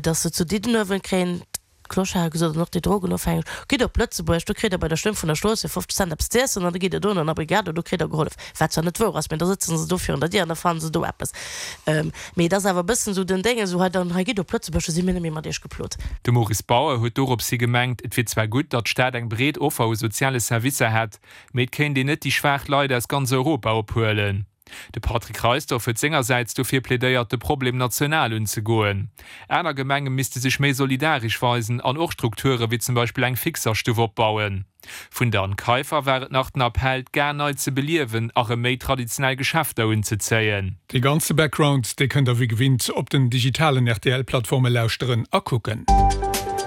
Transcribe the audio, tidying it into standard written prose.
Dass se zu Diddenuewen kréien d'Clocharde gesot an och déi Drogenofhängeg, gitt op Lëtzebuerg, do kritt der bei der Stëmm vun der Strooss fir 50 Cent eppes z'iessen an da gitt der do an der Brigade, do kritt der gehollef. Wat zwar net wouer ass, mä da sëtzen se do virun der Dier an da fannen se do eppes. Mee et ass awer e bëssen esou den Déngen, esou hei dann, hei gitt op Lëtzebuerg, do si mir net méi mat iech geplot. De Maurice Bauer huet dorops hi gemengt, et wier zwar gutt, datt d'Stad eng breet Offer u soziale Servicer hätt, mee et kéint een net déi schwaach Leit aus ganz Europa ophuelen. De Patrick Reisdorff huet sengersäits dofir plädéiert, de Problem national unzegoen. Aner Gemenge misste sech méi solidaresch weisen an och Strukture wéi zum Beispill eng Fixerstuff opbauen. Vun der Anne Kaiffer war et nach den Appell, d'Gare nei ze beliewen a rëm méi traditionell Geschäfter unzezéien. Dee ganze Background, dee kënnt der wéi gewinnt op den digitalen RTL-Plattforme lauschteren a kucken.